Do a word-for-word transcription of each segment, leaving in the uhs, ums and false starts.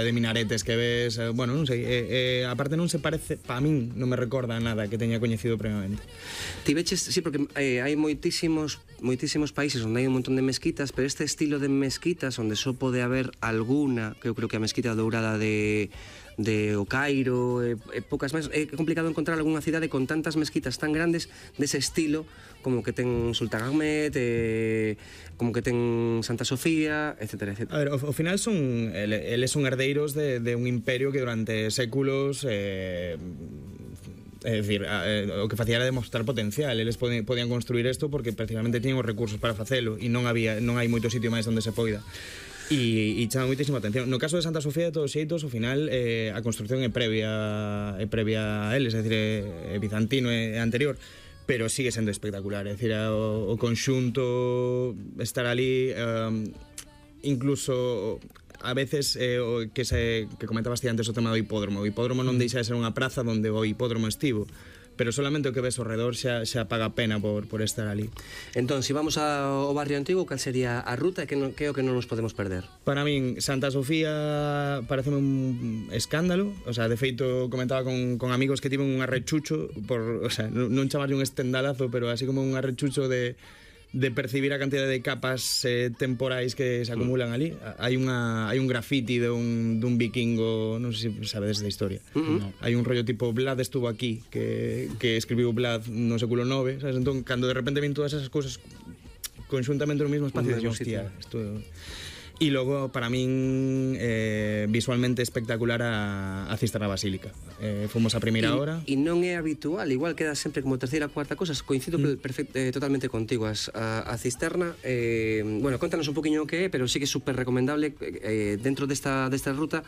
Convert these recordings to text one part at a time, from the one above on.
de minaretes que ves, eh, bueno, non sei, eh, eh, aparte non se parece, pa min non me recorda nada que teña coñecido previamente. Ti veches, sí, porque eh, hai moitísimos moitísimos países onde hai un montón de mezquitas, pero este estilo de mezquitas onde só pode haber alguna, que eu creo que a mezquita dourada de de O Cairo, e, e poucas máis, é complicado encontrar algunha cidade con tantas mezquitas tan grandes dese estilo como que ten Sultan Ahmed, eh, como que ten Santa Sofía, etcétera, etcétera. A ver, ao, ao final son eles son herdeiros de, de un imperio que durante séculos eh, é dicir, eh, o que facía era demostrar potencial. Eles podían, podían construir isto porque precisamente tiñan os recursos para facelo e non había non hai moito sitio máis onde se poida. E, e chama moitísima atención. No caso de Santa Sofía, de todos xeitos, ao final eh, a construcción é previa é previa a eles, é dicir, é, é bizantino, é, é anterior, pero sigue sendo espectacular. É dicir, o, o conxunto estar ali, um, incluso a veces eh, o que se que comentabas ti antes o tema do hipódromo. O hipódromo non deixa de ser unha praza onde o hipódromo estivo, pero solamente o que ves ao redor xa, xa paga pena por, por estar ali. Entón, se vamos ao barrio antigo, cal sería a ruta e que, no, que é o que non nos podemos perder? Para min, Santa Sofía pareceme un escándalo. O sea, de feito, comentaba con, con amigos que tiven un arrechucho por, o sea, non chamarlle un estendalazo, pero así como un arrechucho de de percibir a cantidad de capas eh, temporais que se acumulan mm. ali. Hai unha hai un graffiti de un dun vikingo, non sei se sabedes da historia. Mm-hmm. No. Hai un rollo tipo Vlad estuvo aquí, que que escribiu Vlad no século nove, sabes? Entón, cando de repente ven todas esas cousas conxuntamente no mesmo espacio, de hostia, isto. E logo, para min, eh, visualmente espectacular a, a Cisterna Basílica. Eh, fomos a primeira hora. E non é habitual, igual queda sempre como terceira, cuarta cosa. Coincido mm. perfecto, eh, totalmente contigo. As, a, a Cisterna, eh, bueno, contanos un poquinho o que é, pero sí que é super recomendable eh, dentro desta, desta ruta.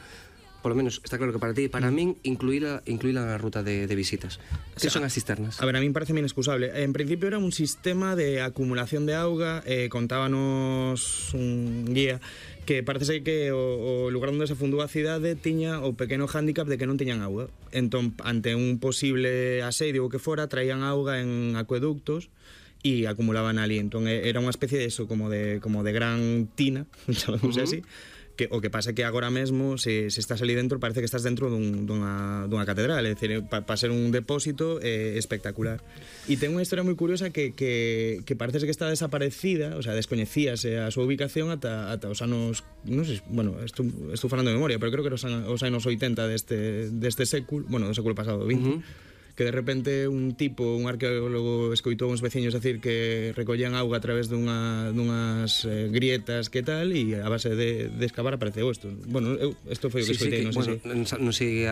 Por lo menos, está claro que para ti e para mm. min incluíla, incluíla na ruta de, de visitas. Que o sea, son as cisternas? A ver, a min parece inexcusable. En principio era un sistema de acumulación de auga, eh, contábanos un guía que parece ser que o, o lugar onde se fundou a cidade tiña o pequeno hándicap de que non tiñan auga. Entón, ante un posible asedio ou que fora, traían auga en acueductos e acumulaban ali. Entón, era unha especie de eso, como de, como de gran tina, chamamos uh-huh. así. Que, o que pasa é que agora mesmo se, se estás ali dentro parece que estás dentro dun, dunha, dunha catedral, é dicir, para pa ser un depósito eh, espectacular. E ten unha historia moi curiosa que, que, que parece que está desaparecida, o sea, descoñecíase a súa ubicación ata, ata os anos, non sei, bueno, estou, estou falando de memoria, pero creo que os, os anos oitenta deste, deste século, bueno, do século pasado, vinte, uh-huh. que de repente un tipo, un arqueólogo, escoitou uns veciños decir que recollían auga a través dunha, dunhas eh, grietas que tal, e a base de, de excavar apareceu isto. Bueno, eu, isto foi o que sí, escoitei, sí, non sei bueno, se... Non sei,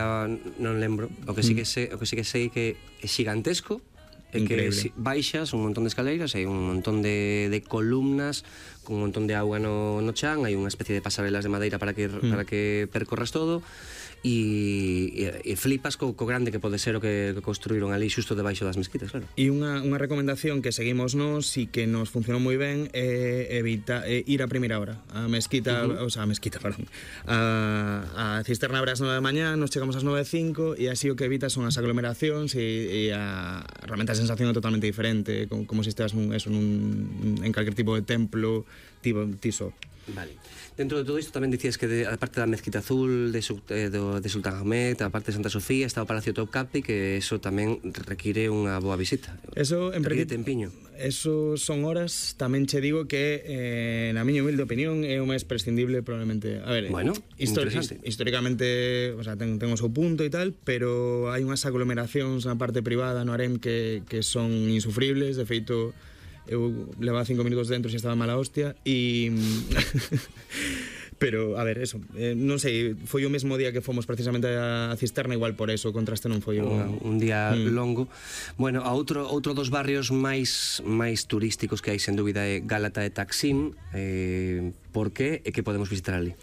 non lembro. O que sí que sei, o que sí que sei que é xigantesco, é que si, baixas un montón de escaleiras, hai un montón de, de columnas con un montón de auga no, no chan, hai unha especie de pasarelas de madeira para que, mm. para que percorras todo. E, e, e flipas co, co grande que pode ser o que, que construíron ali xusto debaixo das mezquitas, claro. E unha, unha recomendación que seguimos nós e que nos funcionou moi ben é evita, é ir a primeira hora. A mezquita, uh-huh. o sea, a mezquita, perdón. A, a cisterna abre ás nove da mañá, nos chegamos ás nove e cinco e así o que evita son as aglomeracións e, e a, realmente a sensación é totalmente diferente, como, como se estés nun, eso, nun, en calquer tipo de templo tipo tiso. Vale. Dentro de todo isto tamén dicías que de, a parte da Mezquita Azul de, eh, do, de Sultan Ahmed, a parte de Santa Sofía, está o Palacio Topkapi, que eso tamén require unha boa visita. Eso, en require tempiño. Eso son horas, tamén che digo que eh, na miña humilde opinión é o máis prescindible probablemente. A ver, bueno, histori históricamente, o sea, ten, ten o seu punto e tal, pero hai unhas aglomeracións na parte privada no harem que, que son insufribles. De feito, eu levaba cinco minutos dentro e estaba mala hostia e... pero, a ver, eso eh, non sei, foi o mesmo día que fomos precisamente a Cisterna, igual por eso o contraste non foi o... un, un día mm. longo. Bueno, a outro, outro dos barrios máis máis turísticos que hai sen dúbida é Gálata e Taksim. eh, Por que e que podemos visitar ali?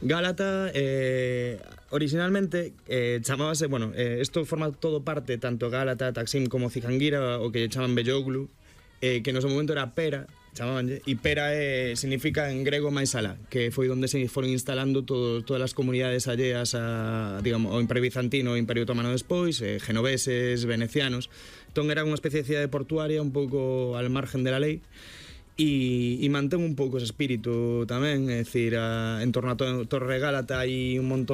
Gálata, eh, originalmente eh, chamábase, bueno, eh, isto forma todo parte, tanto Gálata, Taksim como Cijanguira, o que chaman Belloglu, eh, que no seu momento era Pera, chamabanlle, e Pera eh, significa en grego máis alá, que foi onde se foron instalando todo, todas as comunidades alleas a, digamos, ao Imperio Bizantino, ao Imperio Otomano despois, eh, genoveses, venecianos. Entón era unha especie de cidade portuaria un pouco al margen de la lei. e, e mantén un pouco ese espírito tamén, é dicir, a, en torno a to, Torre Gálata hai un montón